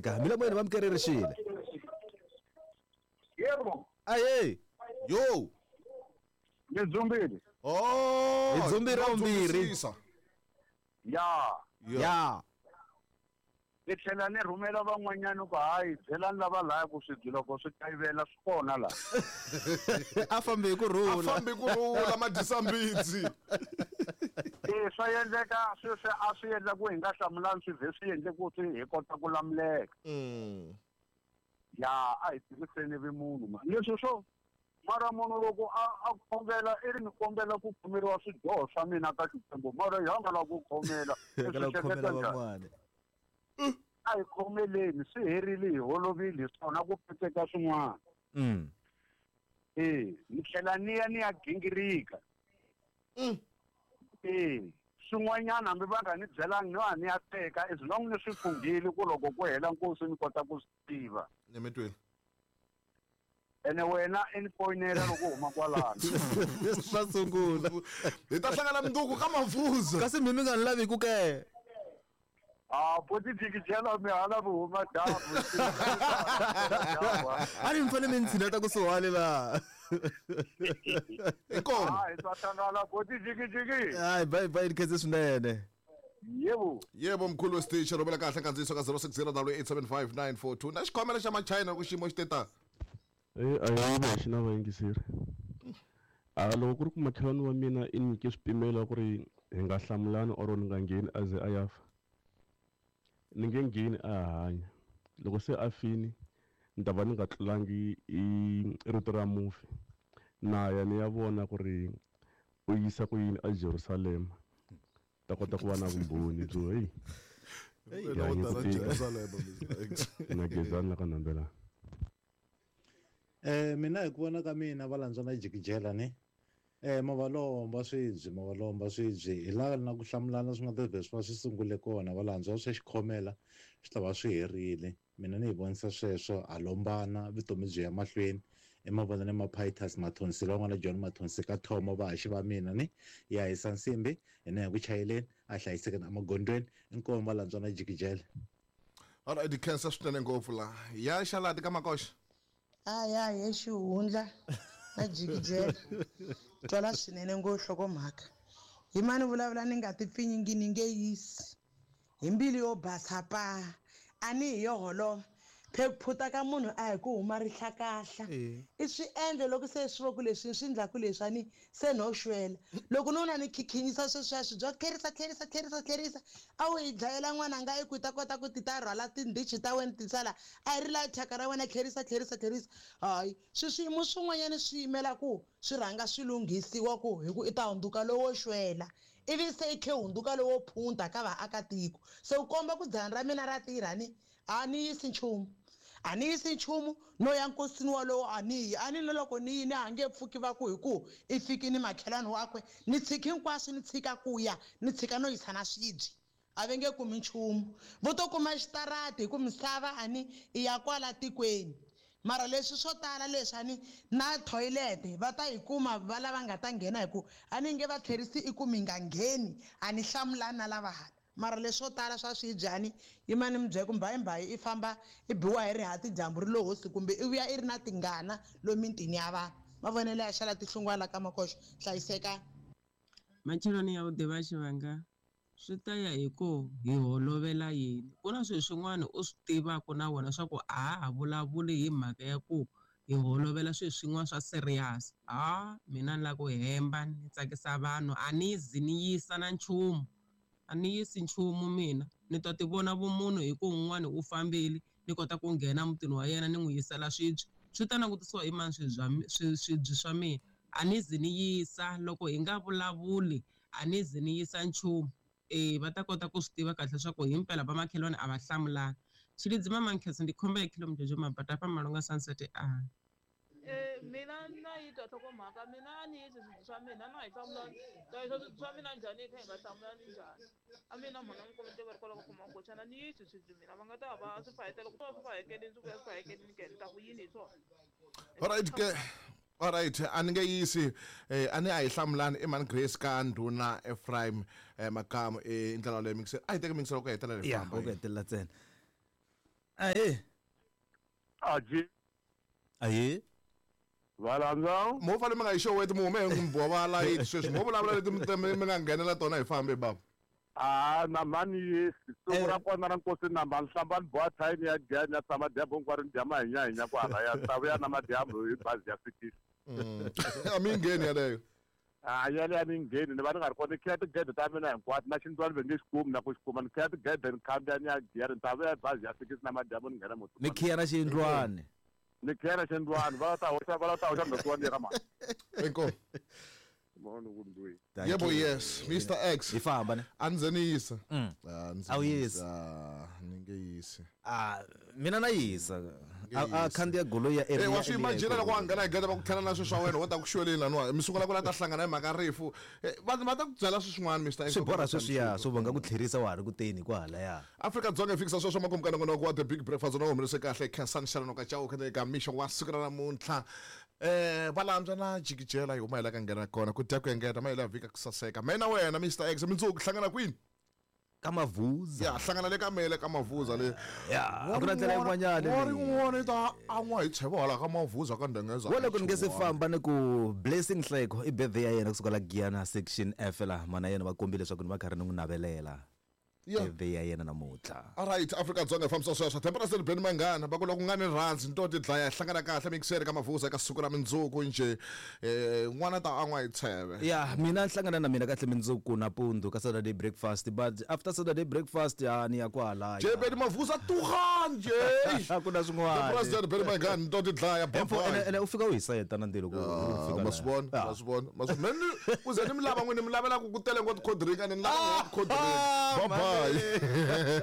Ka milomoyeni va mukererixile. Yebo. Aye. Yo. Ni dzumbile. Oh. Hi dzumbile wa vumbirhi. dzumbisisa. Ya. Ya. Ni tlhela ni rhumela van'wanyana ku hayi byelani lava laya ku swibyi loko swi kayivela swi kona laha. A fambi hi ku A rhula. fambi ku rhula madyisa mbitsi. E swa endleka sweswi a swi endla ku hi nga hlamulani swi vhe swi endle ku swi hi kota ku lamuleka. Ya a hi tirhiseni vumunhu ma. Leswi swo mara munhu loko a a khongela i ri ni kombela ku khomeriwa swidyoho swa mina ka Xikwembu mara hi nga lava ku khomela. I Ka swi lava ku khomela hleketa njhani? van'wana. A hi khomeleni swi herile hi holovile hi swona ku petseka swin'wana. E ni tlhela ni ya ni ya gingirika. E swin'wanyana hambi va nga ni byelangi no a ni ya teka as long ni swi funghile ku loko ku hela nkosi ni kota ku swi tiva. Ni mi twile. Ene wena i ni foyinela loko u huma kwalano. Swa sungula. Hi ta hlangana mundzuku ka Mavuza. Kasi mi mi nga ni lavi ku ke. Ah, boti jikijela mi hala vuhuma dyambu. A ni mi fanele mi ni tshineta kusuhani laha. Hi kona. Ah, hi ta hlangana boti jikijiki. Hayi bye bye ni khense swinene. Yebo. Yebo mkhulu wesiteshi rhumela kahle nkandziyiso ka 0608755942 na xikhomela xa machina loko xiyimo xi te ta. E a hi va xi na vayingiseri a loko ku ri ku makhelwani wa mina i nyike swipimelo ku ri hi nga hlamulani or ni nga ngheni a ze a ya fa ni nge ngheni a ha hanya loko se a fini ni ta va ni nga tlulangi i rito ra mufi na ya ni ya vona ku ri u yisa ku yini aJerusalema ta kota ku va na vumbhoni byo hey Wena wo hi tala ku tika. Jerusalema, Mr. X. na gezani la ka nambelana. Mina hi ku vona ka mina va landzwa na jikijela ni ma va lomba swibye ma va lomba swibye hi laha na ku hlamulana swi nga ta vhe swi va swi sungule kona va landzwa swa xikhomela swi ta va swi herile mina ni hi vonisa sweswo ha lombana vutomi byi ya mahlweni i mavonelo maphayithasi mathonsi lavan'wana John Mathonsi ka Thomo vahaxi va mina ni ya hisa nsimbi hina hi ku chayeleni a hlayisekeni emagondzweni inkomu va landzwa na jikijela. Alright, di khensa swinene ngopfu laha. Ya xalati ka makoxa. Aya he xihundla na jikijela twala swinene ngo nhlokomhaka hi mani vulavula ni nga ti pfinyingi ni nge yisi hi mbilu yo basa pa a ni hi yo holova phe ku phuta ka munhu a hi ku huma rihlakahla i swiendlo loko se swi vo ku leswi swi endlaku leswi a ni se no xwela loko no na ni khikhinyisa sweswiya swi bya tlherisa tlherisa tlherisa tlherisa a wu hi dlayela n'wananga i ku i ta kota ku ti ta rhwala tindhichi ta wena ti sala a hi ri laha thyaka ra wena tlherisa tlherisa tlherisa hayi swi swiyimo swin'wanyana swi yimela ku swi rhanga swi lunghisiwa ku hi ku i ta hundzuka lowo xwela ivi se i khe hundzuka lowo phunta ka vaakatiko se u komba ku dzana ra mina ra tirha ni a ni yisi nchumu a ni yisi nchumu no ya nkosini walowo a ni yi a ni na loko ni yi ni a nge pfuki va ku hi ku i fikini makhelwani wakwe ni tshiki hinkwaswo ni tshika ku ya ni tshika no yisa na swibye a va nge kumi nchumu vo to kuma xitarati hi ku misava a ni i ya kwala tikweni mara leswi swo tala leswi a ni na thoyilete va ta yi kuma va lava nga ta nghena hi ku a ni nge va tlherisi i ku mi nga ngheni a ni hlamulani na lava hala mara leswo tala swa swibyani yimani mi byela ku mbayimbayi i famba i biwa hi rihati dyambu ri lo hosi kumbe i vuya i ri na tingana lomu mitini ya vanhu mavonelo ya xala tihlungwana ka makoxo hlayisekani. Matsheloni ya vhuḓi vha tshivhanga swi ta ya hi ku hi holovela yini ku na swilo swin'wana u swi tivaka na wena swa ku a ha ha vulavuli hi mhaka ya ku hi holovela swilo swin'wana swa serious ha mina ni lava ku hemba ni tsakisa vanhu a ni zi ni yisa na nchumu a ni yisi nchumu mina ni ta ti vona vumunhu hi ku un'wana u fambile ni kota ku nghena mutini wa yena ni n'wi yisela swibye swi ta langutisiwa hi mani swibye swa mina a ni zi ni yisa loko hi nga vulavuli a ni zi ni yisa nchumu e va ta kota ku swi tiva kahle swa ku himpela vamakhelwani a va hlamulani Tshilidzi mama Nkhensa ndi khomba ya khilo mjojo mabata fha Malunga Sunset a. Mina na yi twa nhlokomhaka mina a ni yisi swibye swa mina na hi hlamulani ta yisa swibye swa mina njhani hi kha hi nga hlamulani njhani a mina mhana n'wi kombe tiva ri kwala ka khoma koxana ni yisi swibye mina va nga ta va swi fayetela ku va swi fayekelini swi vuya swi fayekelini ke ni ta ku yini hi swona. Alright ke. Alright, a ni nge yisi a ni a hi hlamulani i mhani Grace ka ndhuna Ephraim Makamu i ndlela leyi mingisela a hi teki mingisela ku hetelela hi Ya famba ku hetelela ntsena. Ahe. Aji. Ahe. Valandza. Mo fanele mi nga yi xeweti mi hume hi n'wi va layiti sweswi mo vulavula leti mi nga nghenela tona hi fambe baba. Ah, na mani yisi siku ra kona ra nkosi namba ni hlamba ni boha thayini ya dya ni ya tshama dyambu hinkwaro ni dya mahinyahinya kwala ya ta vuya na madyambu hi bazi ya fikisi. A mi ngheni yaleyo. A yaleyo a mi ngheni ni va ni nga ri kona ni khiya tigede ta mina hinkwato na xindlwani ve nge xi kumi na ku xi kuma ni khiya tigede ni khandziya ni ya giya ni ta vuya hi bazi ya fikisi na madyambu ni nghena Mi khiya na xiyindlwani. Ni khiya na xiyindlwani va ta hoxa va ta hoxa ndzokiwa ni ya ka mhani. Inkomu. Yebo, yes, Mr X. Hi famba ne. A ndzi ni yisa. A wu yisi. Ni nge yisi. Ah, mina na yisa. A khandziya goloi ya area. Wa swi imagine loko wa nghena hi gede va ku tlhela na swilo swa wena wo ta ku xweleni laniwa mi sungula ku la ta hlangana hi mhaka rifu. Vanhu va ta ku byela swilo swin'wana Mr X. Swi borha sweswiya swo va nga ku tlherisa wa ha ri ku teni kwalaya. Afrika-Dzonga yi fikisa sweswo makumu ka nongonoko wa The Big Breakfast na humelise kahle Khensani Xalanoka Chauke na eka mixo wa siku ra namuntlha. Valandzwa na jikijela hi huma hi la ka nghena kona ku dya ku engeta ma hela vhika ku saseka. Me na wena Mr X mundzuku hlangana kwini? Ka Mavuza. Ya hlangana le ka mele ka Mavuza le. Ya, a ku na ndlela yin'wanyana leyi. Rin'wana yi ta an'wa hi tsheva hala ka Mavuza ka Ndengeza. Wa loko ni nge se famba ni ku Blessing Nhleko i birthday ya yena kusuka la Giyana section F la mana yena va kombile leswaku ni va karhi ni n'wi navelela. Birthday ya yena namuntlha. Alright, Afrika-Dzonga hi fambisa sweswo. Temperature Benny Mangana va ku loko nga ni rhandzi ni to ti dlaya hi hlangana kahle mixere ka Mavuza ka siku ra mindzuku njhe. N'wana ta an'wa hi tsheve. Ya, mina hlangana na mina kahle mindzuku nampundzu ka Saturday breakfast but after Saturday breakfast ya ni ya kwalaya. Jay Benny Mavuza tuga njhe. A ku na swin'wana. The President Benny Mangana ni to ti dlaya. Bye bye. Ene u fika u hi sayeta na ndzilo ku fika. Ma swi vona, ma swi vona. Ma swi mina ku ze ni mi lava n'wini mi lavela ku ku tele ngopfu cold drink a ni lava cold drink. Bye bye.